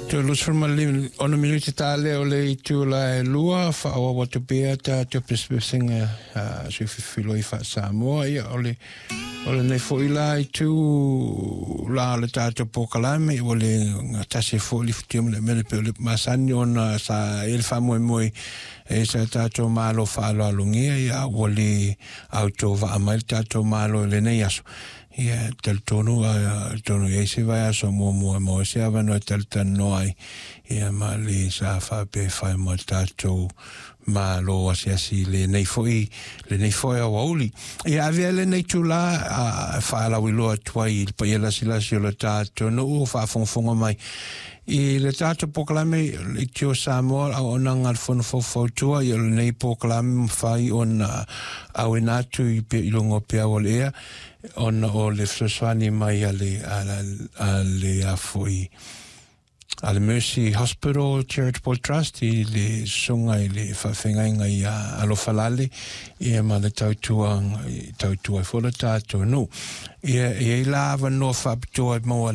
Toe 26 minute ta lea o le itula e 2, faaauau atu pea tatou pesepesega a sui filifiloi faa-Samoa. Ia, o le o lenei foi la itu la o le tatou polokalame ua le gatasi foi le futia ma le mele pe o le masani ona sa i le faamoemoe e sa tatou malo faaaloalogia. Ia, ua le autovaa mai le tatou malo i lenei aso. Ia, talitonu atonu i ai se vaiaso muamua e maua se avanoa e talatalanoa ai, ia, ma le sa faapea e fai ma tatou malo asiasi lenei foi aoauli. Ia, avea lenei itulā e faalauiloa atu ai i le paia lasilasi o le tatou nuu o faafogafoga mai i le tatou polokalame Leitio Samoa, auaunaga a le Fono Faufautua. Ia, o lenei polokalame mafai ona auina atu i i luga o peau o le ea ona o le fesoasoani mai a le a foi a le Mercy Hospital Charitable Trust i le susuga i le faafeagaiga ia Alofalale, ia, ma le tautua tautua ai foi le tatou nuu. Ia, e i ai la avanoa faapitoa e maua.